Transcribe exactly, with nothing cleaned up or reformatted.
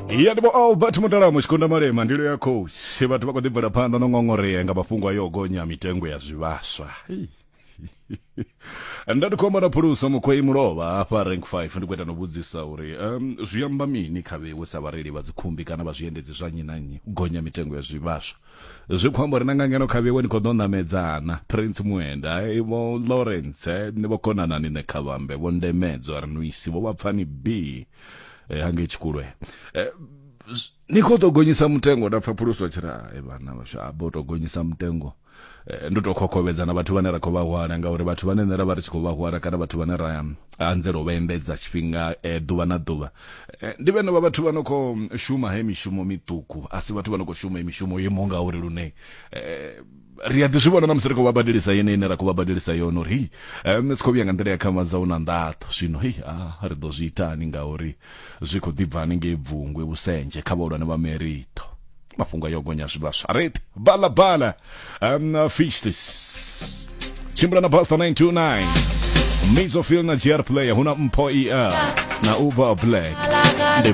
Ya ndi vho Albert Mudalamo Tshikunda Malema ndilo ya khosi. Vhathu vha khou ḓi bvela phanḓa no ngongorea nga mafhungo ayo gonya mitengo ya zwivhaswa. Nda ndi khou amba na Phuluso Mukhwei Mulovha hafha rank five, ndi khou ita no vhudzisa uri um, zwi amba mini kha vhewe sa vhareili vha dzikhumbi kana vha zwiendedzi zwa nnyi na nnyi u gonya mitengo ya zwivhaswa. Zwi khou amba uri na nga ngeno kha vhewe ni khou ḓo ṋamedzana Prince Muenda, eh, vho Lawrence, eh, vho Konanani Nekhavhambe, vho Ndemedzo Arnuisi, vho Vhapfani B eh, hangei Tshikulwe. Eh, ni khou ḓo gonyisa mutengo. Nda pfa Phuluso tshi ri ai vhana vhashu a bo to gonyisa mutengo, ndo to khokhovhedza na vhathu vhane ra khou vha hwala, ngauri vhathu vhane nṋe ra vha ri tshi khou vha hwala kana vhathu vhane ra anzela u vha endedza tshifhinga ḓuvha na ḓuvha ndi vhene vha vhathu vha no khou shuma he mishumo miṱuku, a si vhathu vha no khou shuma mishumo yo imaho ngauri lune ri a ḓi zwi vhona na musi ri khou vha badelisa yene ine ra khou vha badelisa yone uri hei si khou vhuya nga nḓila ya khamadza u na nḓaṱo. Zwino hei a ri ḓo zwi itani ngauri zwi khou ḓi bva haningei Bvungwe Vhusendzhe kha vhahulwane vha Merito. Mafhungo ayo gonya zwivhaswa ret bala bala um, Fistis tshimbila na Buster nine two nine Mizofil na G R Player, huna Mpho E R na Uber Black.